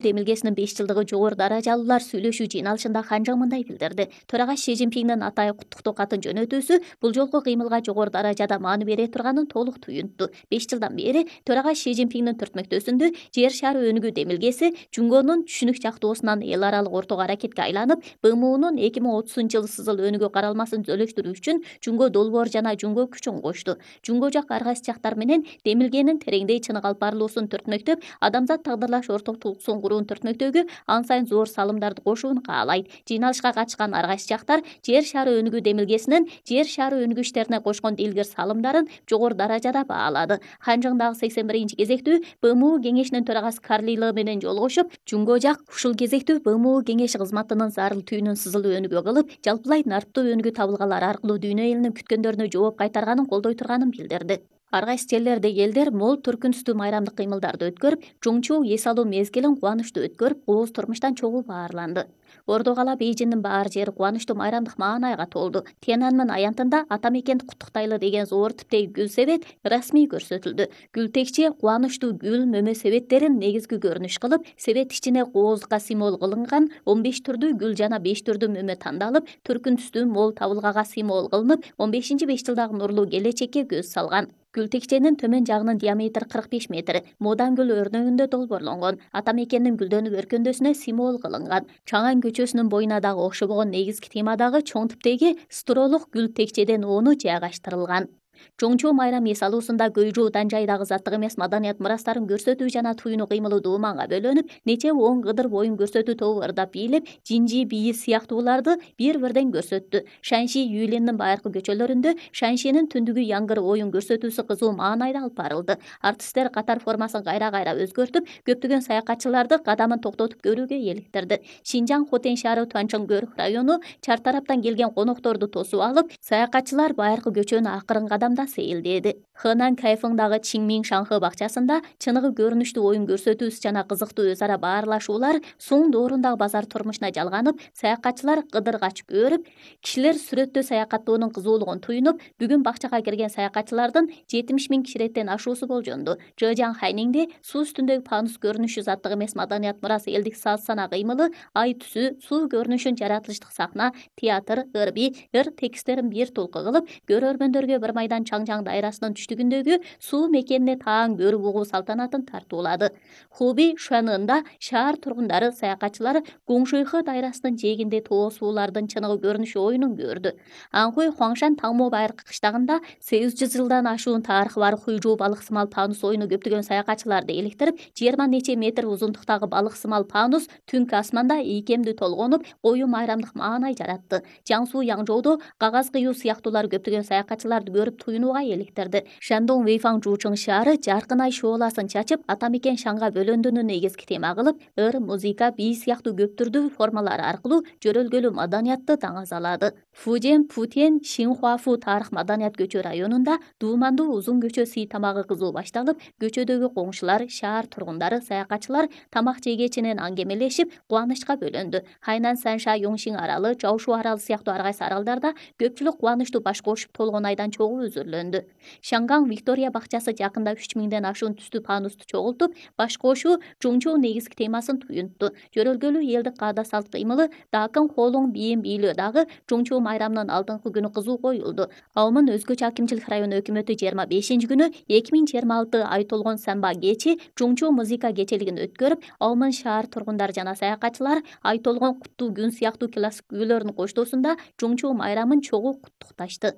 демилгесинин 5 жылдыгы жогору даражалуулар сүйлөшүү жыйналышында Ханжың мындай билдирди. Төрага Си Цзиньпиндин атайын куттуктоо катын жөнөтүүсү бул жолку кыймылга жогору даражада маани бере турганын толук туюнтту. 5 жылдан бери төрага Си Цзиньпиндин түртмөктөөсүндө жер шары өнүгүү демилгеси Жунгонун түшүнүк жактоосунан эл аралык ортого аракетке айланып, БМУнун 2030-жылы сызыл өнүгүү каралмасын түзөлүштүрүү үчүн Жунго долбоор жана Жунго күчүн кошту. Жунго жак ар кайсы жактар менен демилгенин тереңдей чыныгы алып барылуусун түртмөктөп, адамзат тагдырлаш ортоктугун түртмөктөөгө ан сайын зор салымдарды кошууну каалайт. Жыйналышка катышкан ар кайсы жактар жер шары өнүгүү демилгесинин жер шары өнүгүү иштерине кошкон дилгир салымдарын жогору даражада баалады. Ханжыңдагы 81-кезектүү БМУ кеңешинин төрагасы Карли Лы менен жолугушуп, Жунго жак ушул кезектүү БМУ кеңеши кызматынын зарыл түйүнүн сызылуу өнүгүү кылып, жалпылай нарттуу өнүгүү табылгалар аркылуу дүйнө элинин күткөндөрүнө жооп кайтарганын колдой турганын билдирди. Ар кайсы жерлердеги элдер мол түркүн түстүү майрамдык кыймылдарды өткөрүп, Чоңчу эс алуу мезгилин кубанычтуу өткөрүп, кооз турмуштан чогуу баарланды. Ордо кала Бейжиңдин баар жери кубанычтуу майрамдык маанайга толду. Тяньаньмэнь аянтында ата мекенди куттуктайлы деген зор типтеги гүл себет расмий көрсөтүлдү. Гүл текче кубанычтуу гүл мөмө себеттерин негизги көрүнүш кылып, себет ичине кооздукка символ кылынган 15 түрдүү гүл жана 5 түрдүү мөмө тандалып, түркүн түстүү мол табылгага символ кылынып, 15-5 жылдагы нурлуу келечекке көз салган. Гүл текченин төмөн жагынын диаметри 45 метр, модан гүл өрнөгүндө долбоорлонгон. Ата мекендин гүлдөнүп өркөндөөсүнө символ кылынган. Чаңан көчөсүнүн боюна дагы окшобогон негизги темадагы чоң типтеги стролук гүл текчеденоону жайгаштырылган. Чоңчу майрам эс алуусунда Гөйжу Данжайдагы заттык эмес маданият мурастарын көрсөтүү жана туюну кыймылы дууманга бөлөнүп, нече он кыдыр боюн көрсөтүү тобу ырдап бийлеп, жинжи бийи сыяктууларды бир-бирден көрсөттү. Шанши Юйлиндин байыркы көчөлөрүндө Шаншинин түндүгү яңгыр оюн көрсөтүүсү кызуу маанайда алып барылды. Артисттер катар формасын кайра-кайра өзгөртүп, көптөгөн саякатчыларды кадамын токтотуп көрүүгө эликтирди. Шинжаң Хотен шаары Туанчоңгөр району чар тараптан келген конокторду тосуп алып, саякатчылар байыркы көчөнү акырын кадамда сейилдеди. Хэнан Кайфыңдагы Чинмин Шаңхы бакчасында чыныгы көрүнүштүү оюн көрсөтүүсү жана кызыктуу өз ара баарлашуулар Суң доорундагы базар турмушуна жалганып, саякатчылар кыдыргач көрүп, кишилер сүрөттөө саякаттоонун кызуулугун туюнуп, бүгүн бакчага кирген саякатчылардын 70 000 киширеттен ашуусу болжонду. Жэжаң Хайниңде суу үстүндөгү панус көрүнүшү заттык эмес маданият мурасы элдик саз сана кыймылы, ай түсү, суу көрүнүшүн жаратылыштык сахна, театр, ырби, тексттерин бир толку кылып, көрөрмөндөргө bir майдан Чаңжаң дайрасынын түштүгүндөгү суу мекенине таң көрүп угуу салтанатын тартуулады. Хуби Шуанында шаар тургундары, саякатчылар Гуңшуйхы дайрасынын жээгинде тоо суулардын чыныгы көрүнүшү оюнун көрдү. Анхуй Хуаңшан Таңмо байыркы кыштагында 800 жылдан ашуун тарыхы бар Хуйжу балык сымал панус оюну көптөгөн саякатчыларды эликтирип, 20 нече метр узундуктагы балык сымал панус түнкү асманда ийкемдүү толгонуп, коюу майрамдык маанай жаратты. Жаңсу Яңжоодо кагаз кыюу сыяктуулар көптөгөн саякатчыларды көрүп туюнууга эликтирди. Шандong Вэйфаң Жучың шаары жаркын ай шооласын чачып, ата мекен Шаңга бөлөндүүнү негизги тема кылып, музыка, бий сыяктуу көп түрдүү формалар аркылуу жөрөлгөлүү маданиятты таңазалады. Фужен Путен Шинхуафу тарых маданият көчө районунда дуумандуу узун көчө сый тамагы кызуу башталып, көчөдөгү коңшулар, шаар тургундары, саякатчылар тамак жегечинен аңгемелешип, кубанычка бөлөндү. Хайнан Санша Йоңшиң аралы, Жаошу аралы сыяктуу ар кайсы аралдарда көпчүлүк кубанычтуу баш кошуп толгон айдан чогуу үзүрлөндү. Шаңгаң Виктория бакчасы жакында 3000ден ашуун түстүү панусту чогултуп, баш кошуу Чоңчу негизги темасын туюнтту. Жөрөлгөлүү элдик каада салт кыймылы Дакын Холуң бийин бийлөө дагы Чоңчу майрамынын алдыңкы күнү кызуу коюлду. Аумун өзгөчө акимчилик район өкмөтү 25-күнү 2026 ай толгон самба кечи Чоңчу музыка кечелигин өткөрүп, Аумун шаар тургундары жана саякатчылар ай толгон куттуу күн сыяктуу классик күйлөрдүн коштоосунда Чоңчу майрамын чогуу куттукташты.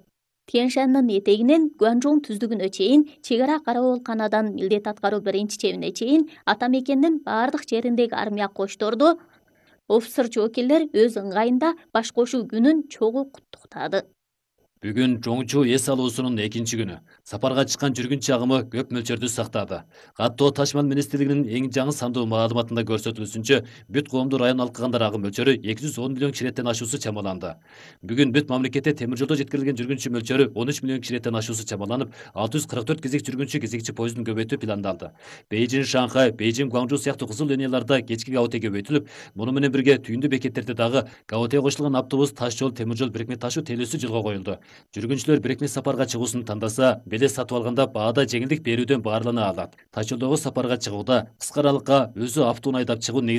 Тяньшаньнын этегинен Гуанчжоң түздүгүнө чейин, чек ара караболканадан милдет аткаруу биринчи чебине чейин ата мекендин бардык жериндеги армия кочторду офицер жоокерлер өз ыңгайында баш кошуу күнүн чогуу куттуктады. Бүгүн Чоңчу эс алуусунун 2-күнү. Сапарга чыккан жүргүнчү агымы көп мөлчөрдү сактады. Каттоо Ташман министрлигинин эң жаңы сандуу маалыматында көрсөтүлүшүнчө, бүт коомдуу район алкагандар агым мөлчөрү 210 миллион киширеттен ашуусу чамаланды. Бүгүн бүт мамлекетте темир жолдо жеткирилген жүргүнчү мөлчөрү 13 миллион киширеттен ашуусу чамаланып, 644 кезек жүргүнчү кезекчи поездун көбөйтүү пландалды. Бейжиң Шанхай, Бейжиң Гуаңжу сыяктуу кызыл линияларда кечки гаоте көбөйтүлүп, муну менен бирге түйүндүү бекеттерде дагы гаоте кошулган автобус, таш жол, темир жол бирикме ташуу телөөсү жолго коюлду. Жүргүнчүлөр бирикме сапарга чыгуусун тандаса, билет сатып алганда баада жеңилдик берүүдөн баарлана алат. Таш жолдогу сапарга чыгууда кыска аралыкка өзү автоунаа айдап чыгуу